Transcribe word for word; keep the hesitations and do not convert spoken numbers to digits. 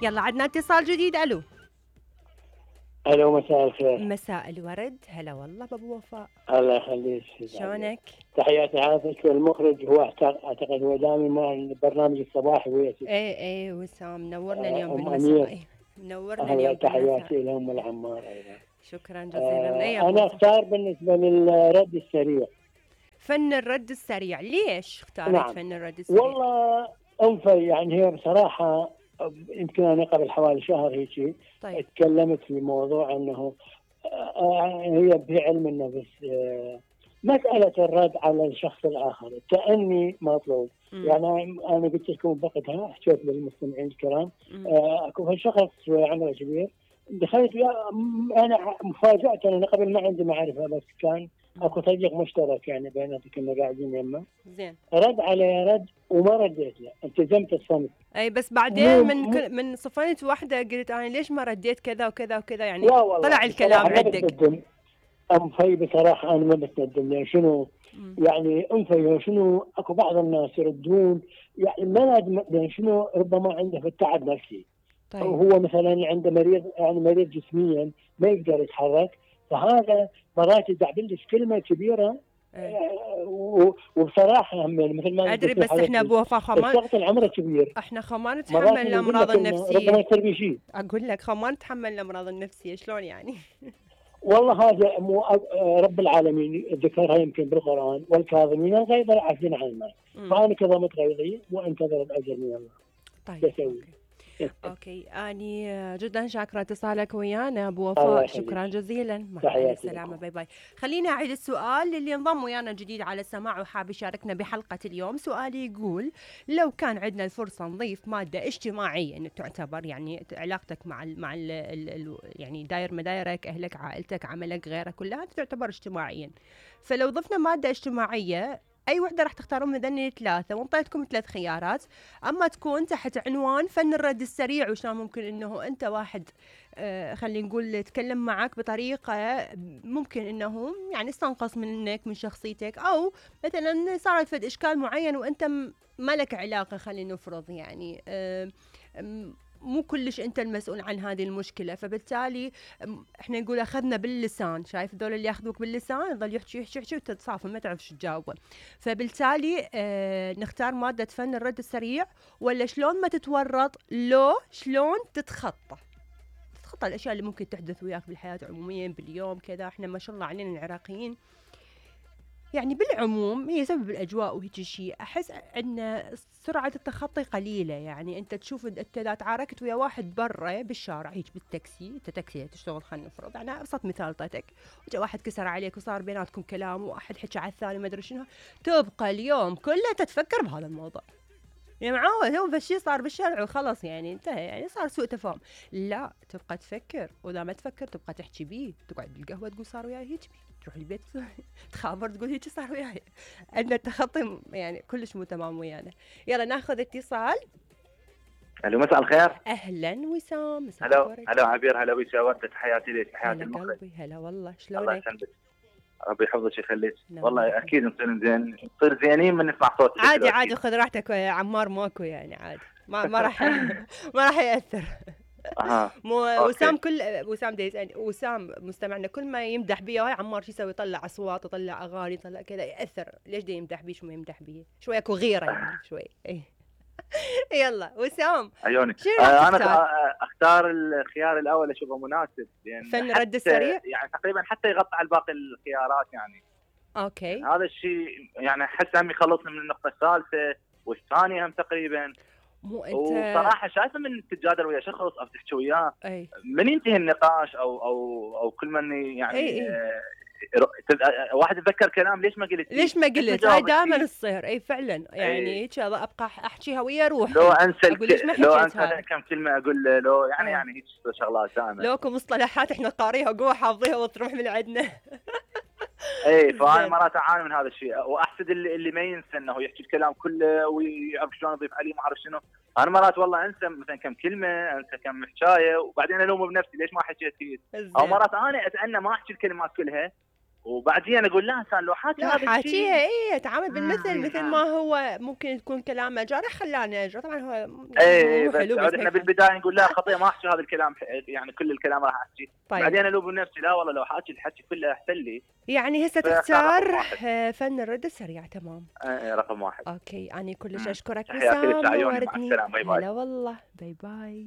يلا عندنا اتصال جديد. الو الو مساء الخير. مساء الورد. هلا والله بابو وفاء. الله يخليك. شلونك؟ تحياتي عافيك. والمخرج هو اعتقد هو دائما مع البرنامج الصباحي وياك. ايه ايه وسام منورنا اليوم بالمساء. منورنا الله اليوم تحياتي لهم العمار ايضا. شكرا جزيلا. آه ايه انا اختار بالنسبه للرد السريع فن الرد السريع. ليش اختارت نعم. فن الرد السريع؟ والله انفي يعني هي بصراحه يمكن انا قبل حوالي شهر هيك طيب. تكلمت في موضوع انه آه هي بعلم النفس آه مساله الرد على الشخص الاخر التأني مطلوب. م. يعني انا قلت لكم بوقتها حكيت للمستمعين الكرام آه اكو شخص عمره كبير دخلت انا مفاجاه انا قبل ما عندي معرفه بس كان اكو صديق مشترك يعني بيناتنا كنا قاعدين يمه. زين. رد علي رد وما رديت له التزمت الصمت. اي بس بعدين من مو من صفنت واحده قلت انا ليش ما رديت كذا وكذا وكذا يعني طلع الكلام عندك. ام في بصراحه انا ما بتندم يعني شنو م. يعني انفي شنو اكو بعض الناس يردون يعني ما يعني شنو ربما عنده في التعب نفسي. طيب. هو مثلا عنده مريض يعني مريض جسميا ما يقدر يتحرك فهذا مرات يدعبلش كلمه كبيره. أه. وبصراحه هم مثل ما ادري بس احنا ابو وفاء خمان الشخص العمر كبير احنا خمان نتحمل الامراض النفسيه. ربما يصير بي شيء. اقول لك خمان نتحمل الامراض النفسيه شلون يعني؟ والله هذا مو رب العالمين ذكرها يمكن بالقران والكاظمين الغيظ والعافين عن الناس. فانا كظمت غيظي وانتظر الاجر من الله. طيب اوكي. اوكي اني جدا شاكره اتصالك ويانا ابو وفاء. شكرا جزيلا. مع السلامه. باي باي. خليني اعيد السؤال للي انضم ويانا جديد على السماع وحاب يشاركنا بحلقه اليوم. سؤالي يقول لو كان عندنا الفرصه نضيف ماده اجتماعيه انه تعتبر يعني علاقتك مع ال مع ال ال يعني داير مدايرك اهلك عائلتك عملك غيرها كلها تعتبر اجتماعيا. فلو ضفنا ماده اجتماعيه أي وحدة راح تختارون من ذني الثلاثة وانطيتكم ثلاث خيارات. أما تكون تحت عنوان فن الرد السريع وشلون ممكن إنه أنت واحد آه خلينا نقول يتكلم معك بطريقة ممكن إنه يعني استنقص منك من شخصيتك أو مثلا صارت فد إشكال معين وأنت ما لك علاقة خلينا نفرض يعني آه مو كلش انت المسؤول عن هذه المشكله. فبالتالي احنا نقول اخذنا باللسان. شايف ذول اللي ياخذوك باللسان يظل يحكي يحكي يحكي وتتصافى ما تعرف شو تجاوبه. فبالتالي اه نختار ماده فن الرد السريع ولا شلون ما تتورط لو شلون تتخطى تتخطى الاشياء اللي ممكن تحدث وياك بالحياه عموميا باليوم كذا. احنا ما شاء الله علينا العراقيين يعني بالعموم هي سبب الأجواء وهيك شيء أحس أن سرعة التخطي قليلة. يعني أنت تشوف أنت إذا تعاركت ويا واحد برا بالشارع هيك بالتاكسي أنت تاكسي تشتغل خلينا نفرض أنا أبسط مثال طيتك وجا واحد كسر عليك وصار بيناتكم كلام وواحد حكى على الثاني ما أدري شنو تبقى اليوم كله تتفكر بهذا الموضوع. يا معود هو بشي صار بالشارع وخلص يعني انتهى يعني صار سوء تفاهم. لا تبقى تفكر واذا ما تفكر تبقى تحكي بيه تقعد بالقهوه تقول صار وياي هيك تروح البيت تخابر تقول هيك صار وياي. عندنا التخطي يعني كلش مو تمام ويانا. يلا ناخذ اتصال. الو مساء الخير. اهلا وسام. مساء الخير. هلا هلا عبير. هلا ويسا ورده. تحياتي لك. تحياتي المخرج. قلبي هلا والله شلونك؟ الله يسلمك. ربي يحفظك ويخليك. والله اكيد نصير زين نصير زينين من نسمع صوتك. عادي عادي خذ راحتك يا عمار ماكو يعني عادي ما ما راح ما راح ياثر. اها مو وسام كل وسام دا يسالني وسام مستمعنا كل ما يمدح بيه هاي عمار شو يسوي يطلع اصوات يطلع اغاني يطلع كذا ياثر. ليش دا يمدح بيه شو ما يمدح بيه شوي اكو غيره يعني شوي. اي يلا وسام عيوني. آه انا اختار الخيار الاول اشوفه مناسب لان فن رد السريع يعني تقريبا حتى يغطي على باقي الخيارات يعني. اوكي يعني هذا الشيء يعني احس هم يخلصني من النقطه الثالثه والثانيه هم تقريبا. مو انت وصراحه شايفه من تتجادل ويا شخص او تحكي وياه من ينتهي النقاش او او او كل من يعني أي أي. آه واحد يتذكر كلام ليش ما قلت ليش ما قلت هاي دائما تصير. اي فعلا يعني هيك ابقى احكيها ويا روحي لو انسى الك... لو انسى كم كلمه اقول له لو يعني أي. يعني هيك شغلات دائما لوكم مصطلحات احنا قاريها وقوه حافظيها وتروح من عندنا. اي فانا مرات اعاني من هذا الشيء واحسد اللي اللي ما ينسى انه يحكي الكلام كله ويعرف شلون يضيف عليه ما اعرف شنو. انا مرات والله انسى مثلا كم كلمه انسى كم حكايه وبعدين الوم بنفسي ليش ما حكيت هيك. او مرات انا اتأنى ما احكي الكلمات كلها وبعدين اقول لا انسان لو حاكي لا هذا حاكيها الشيء ايه تعامل بالمثل مثل ما هو ممكن يكون كلامه جارح خلاني اجرى طبعا هو ايه مو بس حلو بس احنا هيك. بالبدايه نقول لا خطيه ما احكي هذا الكلام يعني كل الكلام راح احكي. طيب. بعدين الوم نفسي لا والله لو حاكي الحكي كله احسن لي. يعني هسه فصار تختار رقم واحد. آه، فن الرد السريع. تمام. ايه رقم واحد. اوكي اني كلش مم. اشكرك تحياتي وسام لك لعيوني، مع نورتني. السلامه، باي باي. هلا والله باي باي.